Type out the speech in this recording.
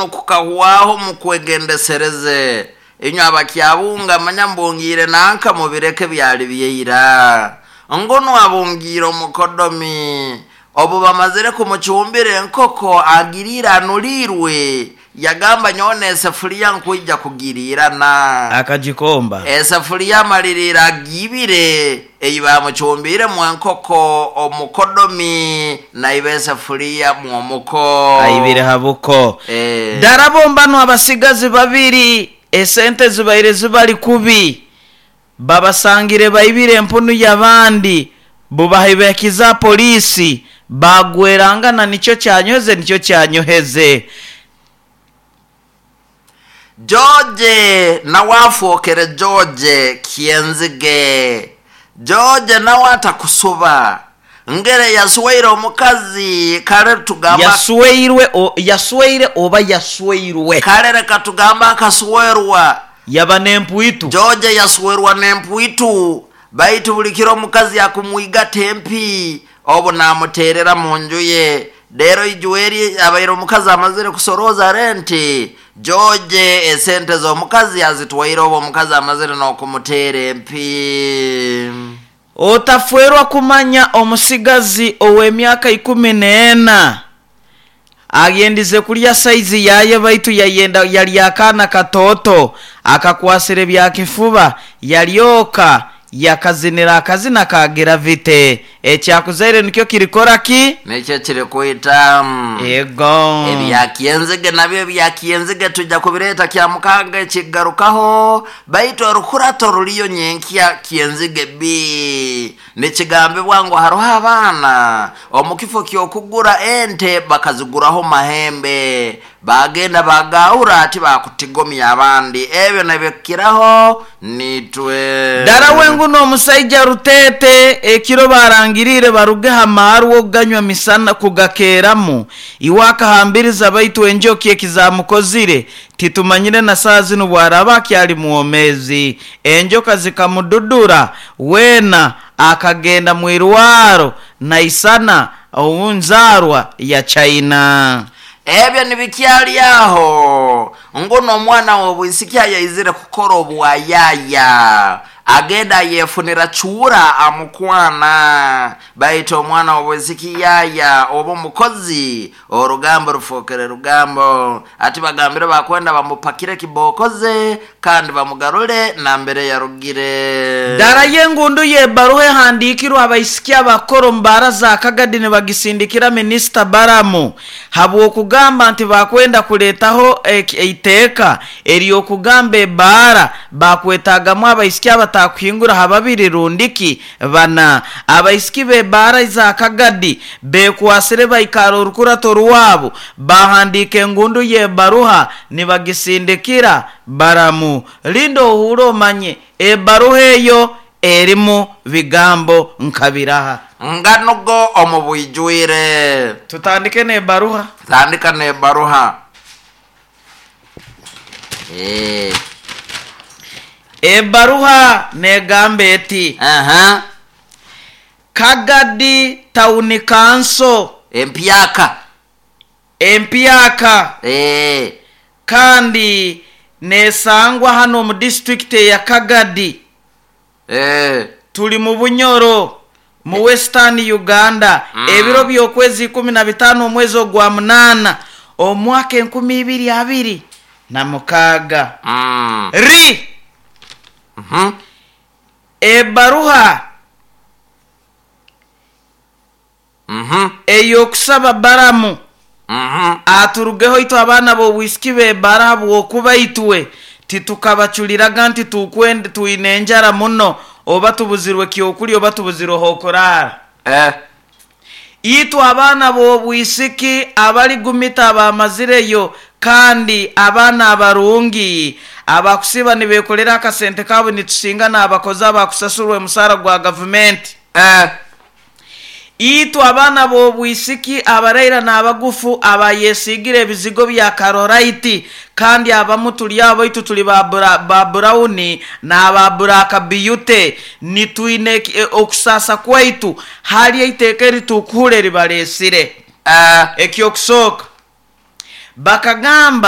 Kukahwaho mukwegendesereze inywe abakyabunga manya mbungiire nanka mubireke byali byeira. Ngunu abungiire omukodomi obu bamazire kumucumbira enkoko agiriire anuliirwe, yagamba nyowe n'esefuliya nkwija kugiriirana. Akagikomba. Esefuliya amaliriire agiibire ei bamucumbiiremu enkoko omukodomi naiba esefuliya mw'omuko. Aibire ha buko. Dara bo mbanu abasigazi babiri esente zibaire zibali kubi babasangire baibire empunu y'abandi bubahaibahikize poliisi baagwerangana nikyo kyanyoheze nikyo kyanyoheze. George nawe afookere George Kyenzige. George nawe atakusuba. Ngere yasweire omukazi kale tugamba. Yasweirwe o, yasweire oba yasweirwe. Kale leka tugambe akaswerwa. Yaba n'empwitu. George yaswerwa n'empwitu baitu buli kiro omukazi akumwigata empi obu namuteerera mu nju ye. Reero Ijweri abaire omukazi amazire kusorooza renti, George esente z'omukazi azitwaire obu omukazi amazire n'okumuteera empi. Otafwerwa kumanya omusigazi ow'emyaka ikumi n'ena ayendize kulya saizi yaye baitu yayenda yalya akaana katooto akakwasire bya kifuba yalyoka yakazinira akazina ka giravite. Ekyakuzaire nikyo kirikora ki? Nikyo kirikwita. Ego. Ebya Kyenzige nabyo ebya Kyenzige twija kubireeta Kyamukaaga ekigarukaho, baitu orukurato ruriyo nyenkya Kyenzige B. Nikigambibwa ngu haroho abaana omu kifo ky'okugura ente bakaziguraho mahembe, baagenda baagaahura ati baakutigomya abandi. Ebyo nabikiraho niitwe. Dara we ngu n'omusaija Ruteete ekiro baarangiriire baruge ha maarwa okuganywa misana kugakeeramu, iwe akahambiriza baitu enjoki eki zaamukozire titumanyire na saaha zinu bw'araaba akyali mwomeezi. Enjoka zikamududura weena akagenda mu irwaro naisana ou nzaarwa ya China. Ebyo nibikyali aho, ngu n'omwana w'obwisiki ayaizire kukora obwayaaya, agenda ayefunira cuura amukwana. Baitu omwana w'obwisiki yaaya oba omukozi, orugambo rufookere rugambo. Ati bagambire bakwenda bamupakire kibookoze kandi bamugarure nambere yarugire. Dara y'engundu y'ebaruha ehandiikirwe abaisiki abakukora omu baara za Kagadi nibagisindikira Minisita Balamu habw'okugamba nti bakwenda kureetaho eiteeka ery'okugamba ebaara bakwetaagamu abaisiki abatakuhingura ha babiri rundiki bana. Abaisiki b'ebaara za Kagadi bekwasire baikaara orukurato rwabo baahandiika engundu y'ebaruha nibagisindikira Balamu. Linda ohuure omanye ebaruha eyo erimu bigambo nka biraha. Nganugo omu bwijwire. Tutandike n'ebaruha. Tandika n'ebaruha. Eh. Ebaruha n'egamba eti. Aha. Kagadi Tawuni Kanso. Empyaka. Empyaka. Eh. Kandi n'esangwa hanu omu disiturikiti eya Kagadi. Eh. Turi mu Bunyoro, mu Western Uganda, ebiro by'okwezi 15 omwezi ogwa munaana omwaka 2026. Ri. Ebaruha ey'okusaba Balamu aturugeho itwe abaana b'obwisiki b'ebara habw'okuba itwe titukabacuriraga nti tukwenda twine enjara muno oba tubuzirwe kyokulya oba tubuzirwe h'okuraara. Itwe abaana b'obwisiki abali gumita abamazireyo kandi abaana abarungi abakusiiba nibekolera akasente kaabo nitusinga n'abakozi abakusasurwa omusaara gwa gavumenti. Itwe abaana b'obwisiki abaraira n'abagufu abayesiigire ebizigo bya karorayiti kandi abamu turi abo baitu turi ba ba burawuni n'aba buraaka biyute nitwine okusaasa kwaitu hali eiteeka eritukuhura eribareesire. Eky'okusooka. Bakagamba.